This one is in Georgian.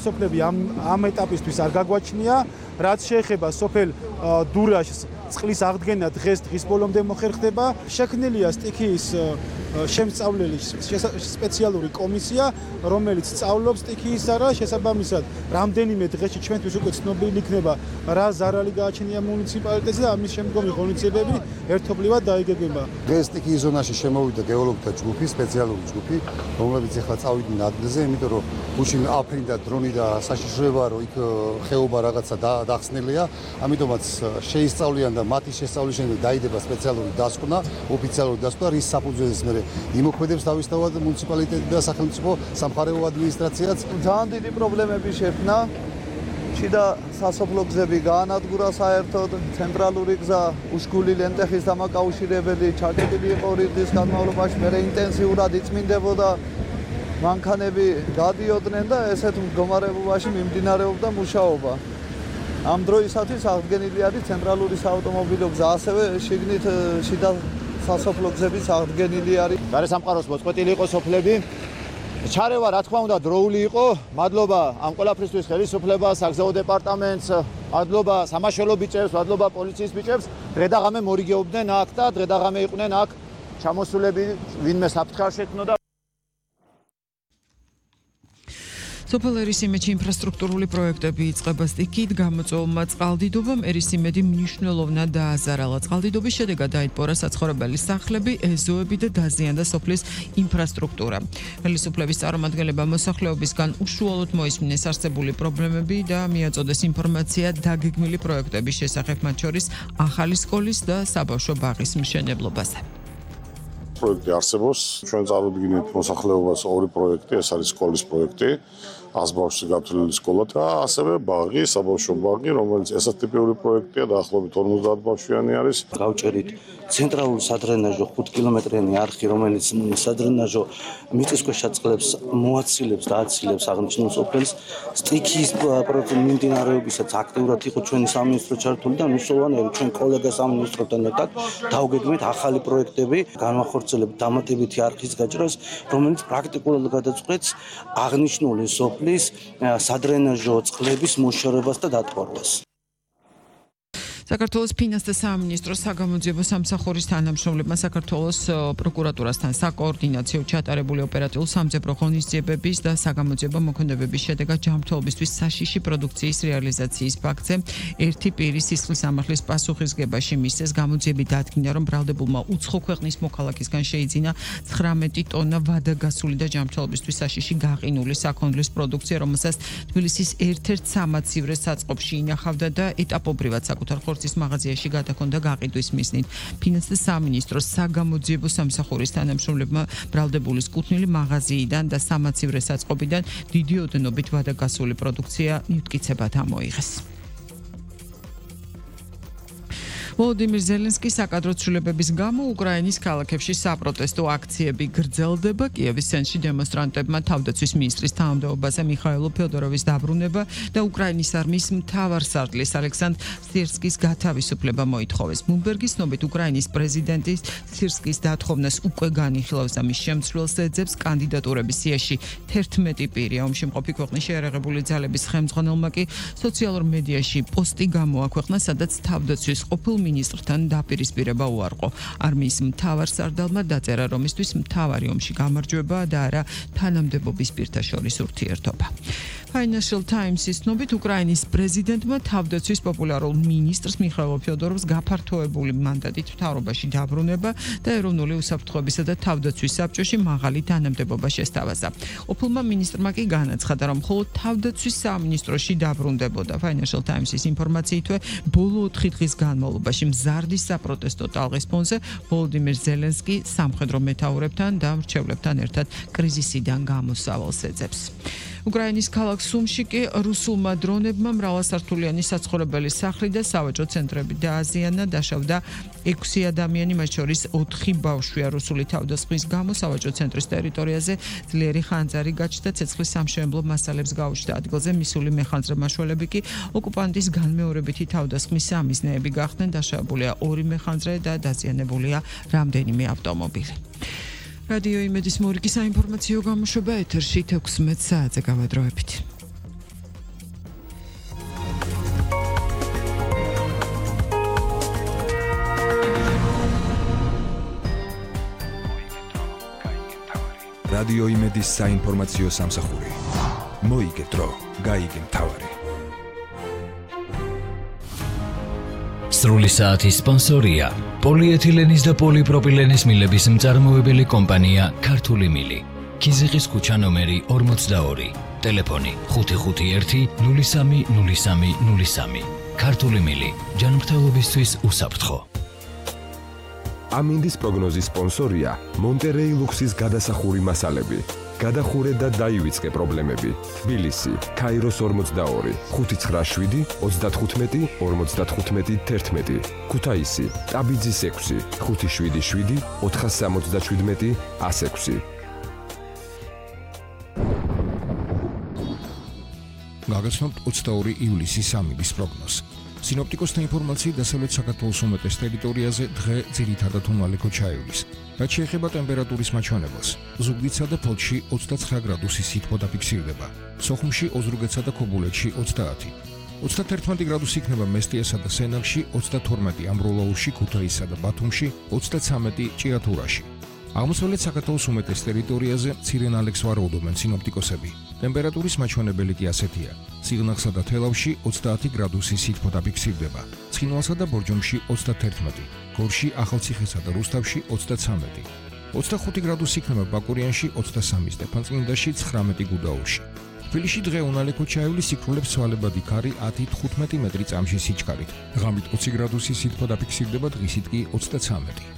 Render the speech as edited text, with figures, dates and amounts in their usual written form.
სოფლები ამ ეტაპისთვის არ გაგვაჩნია, რაც შეეხება სოფელ დურაშს წყლის აღდგენა დღის ბოლომდე მოხერხდება. შექმნილია სტიქიის შემსწავლელი სპეციალური კომისია, რომელიც სწავლობს სტიქიის ზარა, შესაბამისად, რამდენიმე დღეში ჩვენთვის უკვე ცნობილი იქნება, რა ზარალი გააჩნია მუნიციპალიტეტზე და ამის შემდგომი ღონისძიებები ერთობლივად დაიგეგმება. დღეს სტიქიის ზონაში შემოვიდა გეოლოგთა ჯგუფი, სპეციალური ჯგუფი, რომლებიც ახლა წავიდნენ ადგილზე, იმიტომ რომ გუშინ აფრინდა დრონი და საშიშროება, რომ იქ ხეობა რაღაცა დახსნილია, ამიტომაც შეისწავლიან და მათი შესწავლის შემდეგ დაიდება სპეციალური დასკვნა, ოფიციალური დასკვნა, რის საფუძველზეც მე იმოქმედებს თავისთავად მუნიციპალიტეტი და სახელმწიფო სამხარეო ადმინისტრაციაც. ძალიან დიდი პრობლემები შექმნა. შიდა სასოფლო გზები გაანადგურა საერთოდ, ცენტრალური გზა უშგული ლენტეხის დამაკავშირებელი ჩაკეტილი იყო რიგის განმავლობაში, მე ინტენსიურად იწმინდებოდა, მანქანები გადიოდნენ და ესეთ მდგომარეობაში მიმდინარეობდა მუშაობა. ამ დროისათვის აღდგენილი არის ცენტრალური საავტომობილო გზა, ასევე შიგნით შიდა სასოფლო გზების აღდგენილი არის. გარესამყაროს მოწყვეტილი იყო სოფლები. ჩარევა რა თქმა უნდა დროული იყო. მადლობა ამ ყველაფრისთვის ხელისუფლებას, საგზაო დეპარტამენტს, მადლობა სამაშველო ბიჭებს, მადლობა პოლიციის ბიჭებს. დღე და ღამე მორიგეობდნენ აქ და დღე და ღამე იყვნენ აქ ჩამოსულები, ვინმე საფრთხე შექმნოდა. სოფელ ერისიმედში ინფრასტრუქტურული პროექტები იწყება სტიქიით, გამოწვეულმა წყალდიდობამ ერისიმედი მნიშვნელოვნად დააზარალა. წყალდიდობის შედეგად დაიტბორა საცხოვრებელი სახლები, ეზოები და დაზიანდა სოფლის ინფრასტრუქტურა. ხელისუფლების წარმომადგენლებმა მოსახლეობისგან უშუალოდ მოისმინეს არსებული პრობლემები და მიაწოდეს ინფორმაცია დაგეგმილი პროექტების შესახებ, მათ შორის ახალი სკოლის და საბავშვო ბაღის მშენებლობაზე. პროექტი არსებობს. ჩვენ წარუდგინეთ მოსახლეობას ორი პროექტი, ეს არის სკოლის პროექტი, 100 ბავშვზე გათვლილი სკოლა და ასევე ბაღი, საბავშვო ბაღი, რომელიც ესატიპიური პროექტია, დაახლოებით 50 ბავშვიანი არის. გავჭერით ცენტრალურ სადრენაჟო 5 კილომეტრიანი არხი, რომელიც სადრენაჟო მიწისქვეშა წყლებს მოაცილებს და აცილებს აღნიშნულ სოფელს. სტიქიის პროექტის მიმდინარეობისას აქტიურად იყო ჩვენი სამინისტრო ჩართული და მნიშვნელოვანია, რომ ჩვენ კოლეგა სამინისტროთან ერთად დავგეგმეთ ახალი პროექტები, განვახორციელებთ დამატებითი არხის გაჭრას, რომელიც პრაქტიკულად გადაწყვეტს აღნიშნული სოფლის სადრენაჟო წყლების მოშორებას და დატბორვას. საქართველოს ფინანსთა სამინისტროს საგამოძიებო სამსახურის თანამშრომლებმა საქართველოს პროკურატურასთან საკოორდინაციო ჩატარებული ოპერატიულ სამძებრო ღონისძიებების და საგამოძიებო მოქმედებების შედეგად ჯანმრთელობისთვის საშიში პროდუქციის რეალიზაციის ფაქტზე ერთი პირის სისხლის სამართლის პასუხისგებაში მისცეს. გამოძიებით დადგინდა, რომ ბრალდებულმა უცხო ქვეყნის მოქალაქისგან შეიძინა 19 ტონა ვადაგასული და ჯანმრთელობისთვის საშიში გაყინული საქონლის პროდუქცია, რომელსაც თბილისის ერთ-ერთ სამაცივრე საწყობში ინახავდა და ეტაპობრივად საკუთარ ხორცის მაღაზიაში გადაქონდა გაყიდვის მიზნით. ფინანსთა სამინისტროს საგამოძიებო სამსახურის თანამშრომლებმა ბრალდებულის კუთვნილი მაღაზიიდან და სამაცივრე საწყობიდან დიდი ოდენობით ვადაგასული პროდუქცია მტკიცებად ამოიღეს. ვოლოდიმირ ზელენსკის საკადრო ცვლილებების გამო უკრაინის ქალაქებში საპროტესტო აქციები გრძელდება. კიევის ცენტრში დემონსტრანტებმა თავდაცვის მინისტრის თანამდებობაზე მიხაილო ფედოროვის დაბრუნება და უკრაინის არმიის მთავარსარდლის ალექსანდრ სირსკის გათავისუფლება მოითხოვეს. ბლუმბერგის ცნობით უკრაინის პრეზიდენტის სირსკის დათხოვნას უკვე განიხილავს და მის შემცვლელს ეძებს კანდიდატურების სიაში 11 პირი. ომში მყოფი ქვეყნის შეიარაღებული ძალების ხელმძღვანელმა კი სოციალურ მედიაში პოსტი გამოაქვეყნა, სადაც თავდაცვის ყოფილ მინისტრთან დაპირისპირება უარყო. არმიის მთავარსარდალმა დაწერა, რომ მისთვის მთავარი ომში გამარჯვება და არა თანამდებობის პირთა შორის ურთიერთობა. Financial Times-ის ცნობით უკრაინის პრეზიდენტმა თავდაცვის პოპულარულ მინისტრს მიხაილ ფედოროვს გაფართოებული მანდატით მთავრობაში დაბრუნება და ეროვნული უსაფრთხოებისა და თავდაცვის საბჭოში მაღალი თანამდებობა შესთავაზა. ყოფილმა მინისტრმა კი განაცხადა, რომ მხოლოდ თავდაცვის სამინისტროში დაბრუნდებოდა. Financial Times-ის ინფორმაციითვე ბოლო 4 დღის განმავლობაში მზარდი საპროტესტო ტალღის ფონზე ვოლოდიმირ ზელენსკი სამხედრო მეთაურებთან და მრჩევლებთან ერთად კრიზისიდან გამოსავალს ეძებს. უკრაინის ქალაქ სუმში კი რუსულმა დრონებმა მრავალსართულიანი საცხოვრებელი სახლი და სავაჭრო ცენტრები დააზიანა, დაშავდა 6 ადამიანი, მათ შორის 4 ბავშვია. რუსული თავდასხმის გამო სავაჭრო ცენტრის ტერიტორიაზე ძლიერი ხანძარი გაჩნდა, ცეცხლის სამშენებლო მასალებს გაუჩნდა. ადგილზე მისული მეხანძრე მაშველები კი ოკუპანტის განმეორებითი თავდასხმის სამიზნეები გახდნენ. დაშავებულია 2 მეხანძრე და დაზიანებულია რამდენიმე ავტომობილი. რადიო იმედის მორიგი საინფორმაციო გამოშვება ეთერში 16 საათზე გავადროებით. რადიო იმედის საინფორმაციო სამსახური. მოიგე დრო, გაიგე მთავარი. სრული საათის სპონსორია პოლიეთილენის და პოლიპროპილენის მილების მწარმოებელი კომპანია ქართული მილი. ქიზიყის ქუჩა ნომერი 42. ტელეფონი 551 030303. ქართული მილი ჯანმრთელობისთვის უსაფრთხო. ამინდის პროგნოზის სპონსორია მონტერეი ლუქსის გადასახური მასალები. გადახურე და დაივიწყე პრობლემები. თბილისი, ქაიროს 42, 597 35 55 11. ქუთაისი, ტაბიძის 6, 577 477 106. გაგაცნობთ 22 ივლისის ამიდის პროგნოზს. სინოპტიკოსთა ინფორმაციით დასავლეთ საქართველოს უმეტეს ტერიტორიაზე დღე ძირითადად უმალეკო ჩაივლის. რაც შეეხება ტემპერატურის მაჩვენებელს, ზუგდიდსა და ფოთში 29 გრადუსის სითბო დაფიქსირდება, სოხუმში, ოზურგეთსა და ქობულეთში 30. 31 გრადუსი იქნება მესტიასა და სენაკში, 32 ამბროლაურში, ქუთაისსა და ბათუმში, 33 ჭიათურაში. აღმოსავლეთ საქართველოს უმეტეს ტერიტორიაზე მცირე ნალექს ვარაუდობენ სინოპტიკოსები. ტემპერატურის მაჩვენებელი კი ასეთია: სიღნაღსა და თელავში 30 გრადუსის სითბო დაფიქსირდება, ცხინვალსა და ბორჯომში 31, გორში, ახალციხესა და რუსთავში 33. 25 გრადუსი იქნება ბაკურიანში, 23 სტეფანწმინდაში, 19 გუდაურში. თბილისში დღე უნალექო ჩაივლის, სიკვდილებს ცვალებადი ქარი 10-15 მეტრი წამში სიჩქარით. ღამით 20 გრადუსის სითბო დაფიქსირდება, დღისით კი 33.